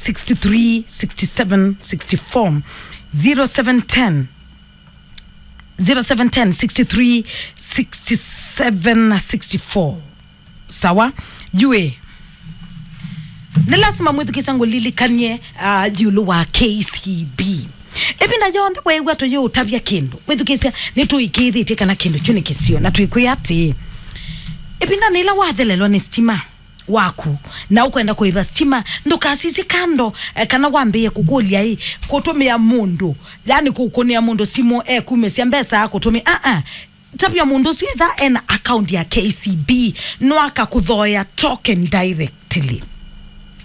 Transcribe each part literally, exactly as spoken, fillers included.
sixty-three sixty-seven sixty-four. zero seven ten, zero seven ten, sixty-three sixty-seven sixty-four. Sawa. Yue, nĩ lasima mwĩthukĩĩsya ngũlilikany'e, ah, ĩũlũ wa K C B. Ĩvinda yonthe weew'a tũyĩũtavya kĩndũ, wĩthukĩĩsya nĩtũĩkĩĩthĩtye kana kĩndũ kyu nĩ kĩseo, na twĩkwĩa atĩĩ, ĩvindanĩ yĩla wathelelwa nĩ sitima waku na ũkwenda kũĩva sitima, ndũkasisye kando, eh, kana wambĩĩe kũkũlya ĩ, kũtũmĩa mũndũ, yani kũkũnĩa mũndũ simũ ekumĩsya mbesa akũtũmĩa. Aa, tavya mũndũ ũsu ethĩwa ena account ya K C B, no akakũthooea token directly.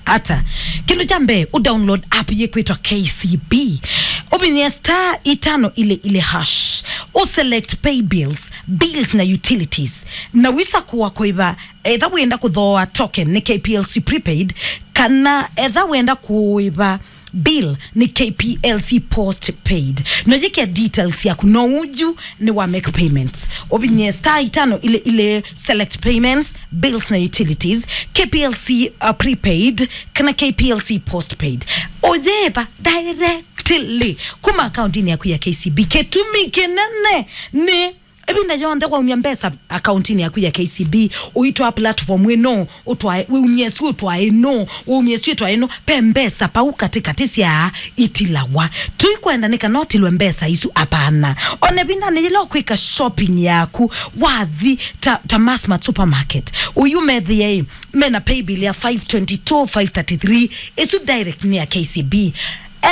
Ata? Kĩndũ kya mbee, ũ download app yĩkwĩtwa K C B. Ũvinyĩe star itano ile ile hash. Ũ select pay bills, bills na utilities. Na wĩsakũa kũĩva, etha wĩenda kũthooa token nĩ K P L C prepaid, kana etha wĩenda kũĩva bill nĩ K P L C postpaid. No yĩke details yaku, no ũyu nĩ wa make payments. Ũvinyĩe star itano ile ile, select payments, bills na utilities, K P L C, uh, prepaid, kana K P L C postpaid. Ũyĩva directly kuma akauntinĩ yaku ya K C B. Kĩtumi kĩnene nĩ ĩvinda yonthe waumya mbesa akauntinĩ yaku ya K C B, ũitwaa platform ĩno, ũtwae, wĩumye ĩsu ũtwae ĩno, wĩumye ĩsu ũtwae ĩno, ve mbesa pau katĩkatĩ sya itilawa. Tũikwenda nĩ kana ũtilwe mbesa isu, apana. Ona ĩvindanĩ yĩla ũkwĩka shopping yaku, wathi ta, ta Massmart Supermarket, ũyu methĩe ĩ, mena paybill ya five twenty-two, five thirty-three, ĩsu direct nĩ ya K C B.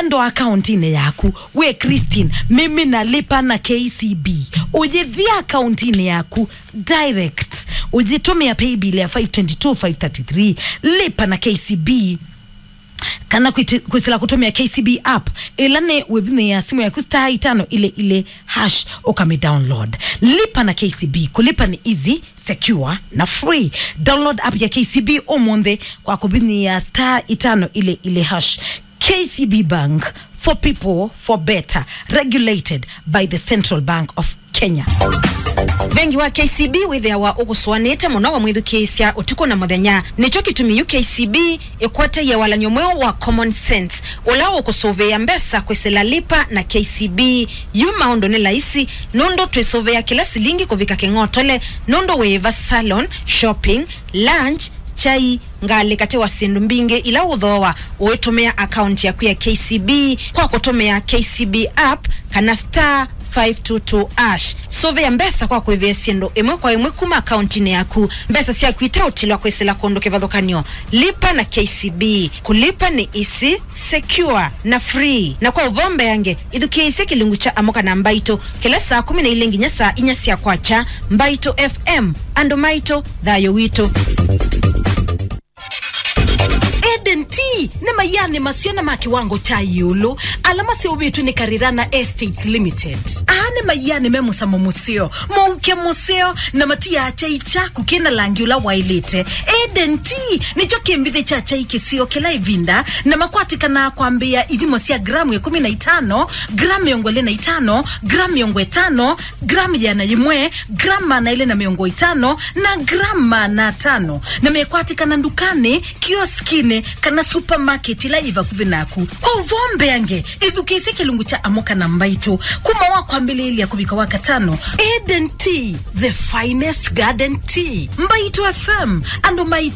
Enda akauntinĩ yaku, we Christine, mimi nalipa na K C B. Ũyĩthi akauntinĩ yaku direct, ũyĩtũmĩa paybill ya five twenty-two, five thirty-three, lipa na K C B. Kana kwĩti-, kwĩsĩla kũtũmĩa K C B app, ĩla nĩ wĩvinyĩĩa simũ yaku star itano ile ile hash, ũkamĩ download. Lipa na K C B, kũlipa nĩ easy, secure na free. Download app ya K C B ũmũnthĩ kwa kũvinyĩĩa star itano ile ile hash. K C B Bank, for people, for better, regulated by the Central Bank of Kenya. Vengi wa K C B wĩthĩawa ũkũsũanĩte mũno wamwĩthukĩĩsya ũtukũ na mũthenya. Nĩkyo kĩtumi yu K C B ĩkwatie walany'o mweũ wa Common Sense, ũla ũkũsũvĩĩa mbesa kwĩsĩla Lipa na K C B. Yu maũndũ nĩ laisi, nũndũ twĩsũvĩa kĩla silingi kũvika kĩng'otole, nũndũ wĩĩva salon, shopping, lunch, kyai, ngalĩ katĩ wa syĩndũ mbingĩ ila ũthooa ũitũmĩa akaunti yaku ya K C B kwa kũtũmĩa K C B app kana star five two two hash. Sũvĩa mbesa kwa kũĩvĩa syĩndũ ĩmwe kwa ĩmwe kuma akauntinĩ yaku, mbesa syaku iteũtilwa kwĩsĩla kũndũ kĩvathũkany'o. Lipa na K C B. Kũlipa nĩ easy, secure na free. Na kwa ũvoo mbeange, ĩthukĩĩsye kĩlungu kya Amũka na Mbaitũ kĩla saa kũmi na ilĩ nginya saa inya sya kwakya. Mbaitũ F M, andũ maitũ, thayũ witũ. Eden Tea nĩ maianĩ maseo na ma kĩwango kya ĩũlũ ala maseũvĩtw'e nĩ Karirana Estates Limited. Aa nĩ maianĩ me mũsamo mũseo, mũuke mũseo, na matiaa kyai kyaku kĩna langi ũla waĩlĩte. Eden Tea nĩkyo kĩmbithĩ kya kyai kĩseo kĩla ĩvinda, na makwatĩkanaa kwambĩĩa ithimo sya gramu ĩkũmi na itano, gramu mĩongo ĩlĩ na itano, gramu mĩongo ĩtano, gramu ĩana yĩmwe, gramu maana elĩ na mĩongo ĩtano, na gramu maana atano, na mekwatĩkana ndukanĩ, kioskinĩ, kana supermarket ila yĩ vakuvĩ naku. Kwa ũvoo mbeange, ĩthukĩĩsye kĩlungu kya Amũka na Mbaitũ kuma wa kwambĩlĩĩlya kũvika wa katano. Eden Tea, the finest garden tea. Mbaitũ F M, andũ maitũ.